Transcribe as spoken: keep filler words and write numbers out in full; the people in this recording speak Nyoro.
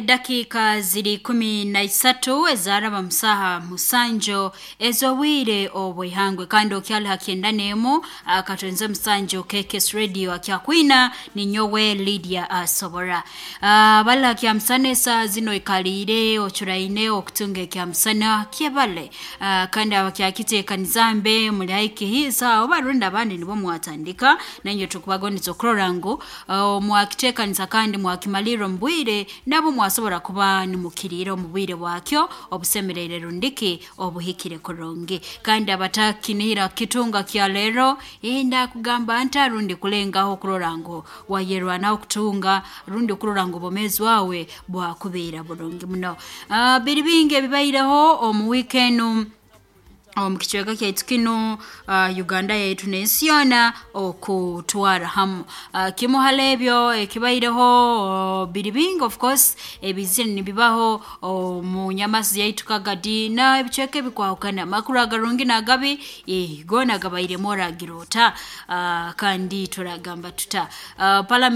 Eddakiika ziri kumi na isatu ezaraba musaha musanjo ez'obwire obw'ihangwe, kandi okyali ha kyenda n'emu akatwenze musanjo K K S Radio akyakwina ninyowe Lydia Asobora. Uh, bala kyamusana esaa zino ikaliire ocuraine okutunga ekyamusana kyebale. Uh, kandi abakyakiteekaniza mbe muli haikihiisa oba rundi abandi nibo mwatandika nainywe tukubagoniza okurora ngu uh, mwakiteekaniza kandi mwakimalirra omu bwire, nabo mwasobora kuba nimukiriira omu bwire bwakyo obusemereire rundiki obuhikire kurungi. Kandi abatakinihira kitunga kya leero ndakugamba nta rundi kulengaho okurora ngu wayerwanaho kutunga rundi okurora ngu obwomeezi bwawe bwakubeera burungi muno. Uh, biri bingi ebibaireho omu wiiki enu omu kicweka kyaitu kinu, uh, Uganda yaitu n'ensi yoona okutwara hamu. Uh, kimu hali ebyo ekibaireho uh, biri bingi of course ebizire nibibaho omu nyamasi yaitu Kagadi na ebicweka ebikwahukana, amakuru agarungi n'agabi eh, goona gabairemu oragira ota, uh, kandi turagamba tuta uh, parliament